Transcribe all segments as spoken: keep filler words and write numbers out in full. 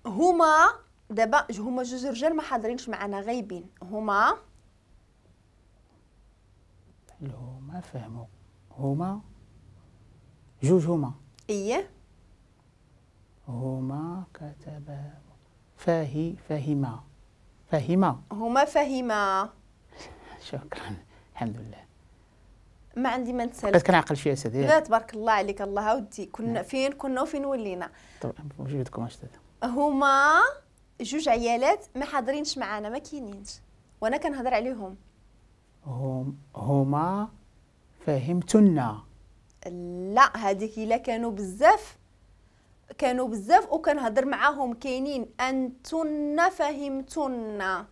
هما دابا هما جوج رجال ما حاضرينش معنا، غايبين. هما هما فهموا. هما جوج هما. ايه هما كتب فاهي فهما فهما هما فهما. شكرا الحمد لله. ما عندي ما نتسالك، بقيت كنعقل شوية استاذ. لا تبارك الله عليك، الله ودي كنا فين كنا وفين ولينا. طبعا بوجودكم استاذ. هما جوج عيالات ما حاضرينش معانا، ما كاينينش وانا كنهضر عليهم. هم هما فهمتن. لا هذيك الا كانوا بزاف، كانوا بزاف وكنهضر معاهم كاينين. انتن فهمتن،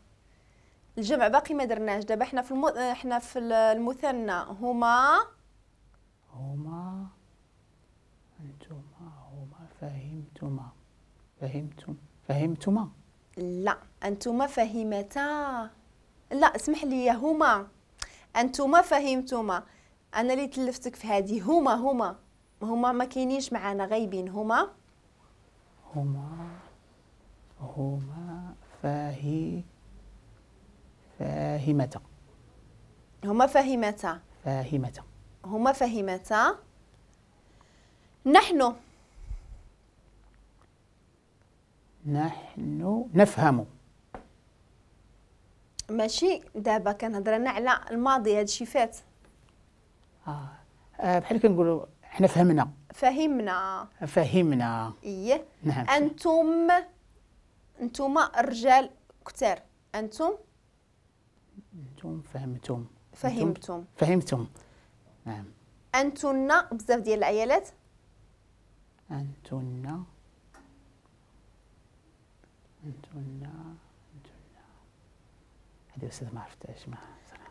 الجمع باقي ما درناش. دابا حنا في الم... حنا في المثنى. هما هما انتما هما فهمتما فهمتم فهمتما. لا انتما فهمتا. لا اسمح لي، هما انتما فهمتما. انا اللي تلفتك في هذه. هما هما هما ما كاينينش معانا، غايبين. هما هما هما فاهي فاهمتا. هما فاهمتا فاهمتا هما فاهمتا. نحن نحن نفهم. ماشي دابا كنهضر انا على الماضي، هادشي فات. اه, آه بحال كنقولوا حنا فهمنا. فهمنا فهمنا. ايه نعم. انتم انتم الرجال كثار. انتم انتم فهمتم فهمتم فهمتم. نعم. انتن بزاف ديال العيالات. انتن انتن انتن هذه استاذ ما عرفتهاش. ما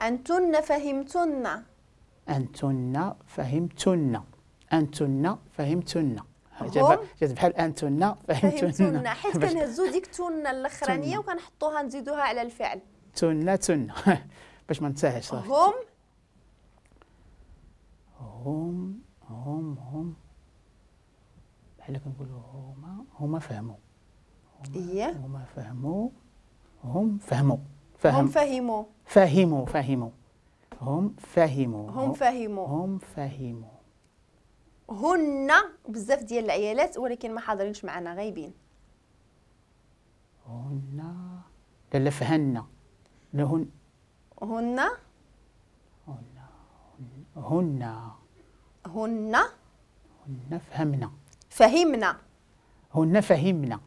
انتن فهمتن. انتن فهمتن انتن فهمتن. جات بحال انتن فهمتن، حيت كنهزو ديك تن الاخرانية وكنحطوها نزيدوها على الفعل. تن تن باش ما ننساهاش. هم هم هم هم بحال كنقولوا هما هما فهموا. ايه هما فهموا. هم فهموا. فهم هم فهموا فهموا فهموا هم فهموا هم فهموا هم فهموا. هن بزاف ديال العيالات ولكن ما حاضرينش معنا، غايبين. هن لا لا فهن لهن هن هن هن هن هن فهمنا فهمنا هن فهمنا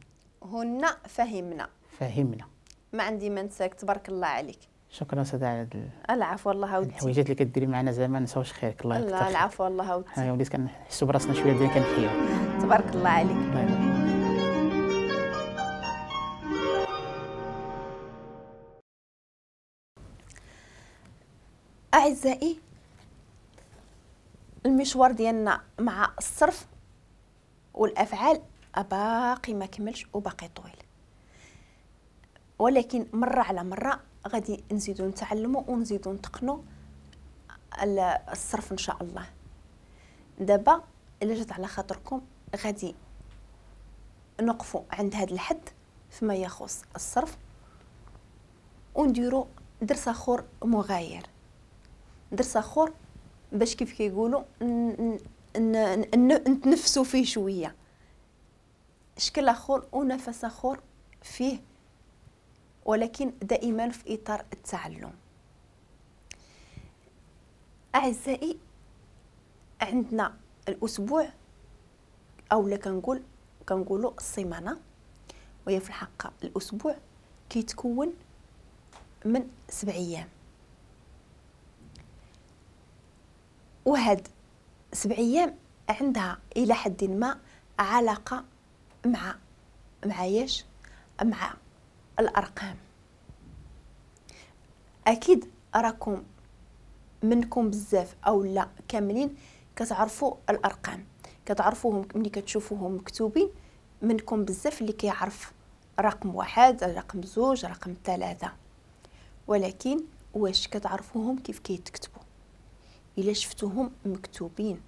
هن فهمنا فهمنا. ما عندي ما نساك، تبارك الله عليك. شكرا استاذ على العفو الله ودي الحويجات اللي كديري معنا، زعما نساوش خيرك. الله يكثر خيرك. العفو الله ودي. وليت كنحسوا براسنا شوية بدينا كنحيو. تبارك الله عليك. الله يبارك. أعزائي، المشوار ديالنا مع الصرف والأفعال باقي ما كملش وباقي طويل، ولكن مرة على مرة غادي نزيدو نتعلمو ونزيدو نتقنو الصرف إن شاء الله. دابا إلا جات على خاطركم غادي نقفو عند هذا الحد فيما يخص الصرف، ونديرو درس آخر مغاير، درس آخر باش كيف كيقولوا نتنفسوا فيه شوية، شكل آخر ونفس آخر فيه، ولكن دائما في إطار التعلم. أعزائي، عندنا الأسبوع أو لا كنقول كنقولوا السيمانة، وهي في الحقيقة الأسبوع كيتكون من سبع أيام، وهاد سبع أيام عندها إلى حد ما علاقة مع معايش مع الأرقام. أكيد راكم منكم بزاف أو لا كاملين كتعرفوا الأرقام، كتعرفوهم ملي كتشوفوهم مكتوبين. منكم بزاف اللي كيعرف رقم واحد، رقم زوج، رقم ثلاثة، ولكن واش كتعرفوهم كيف كيتكتبوا؟ إلا شفتوهم مكتوبين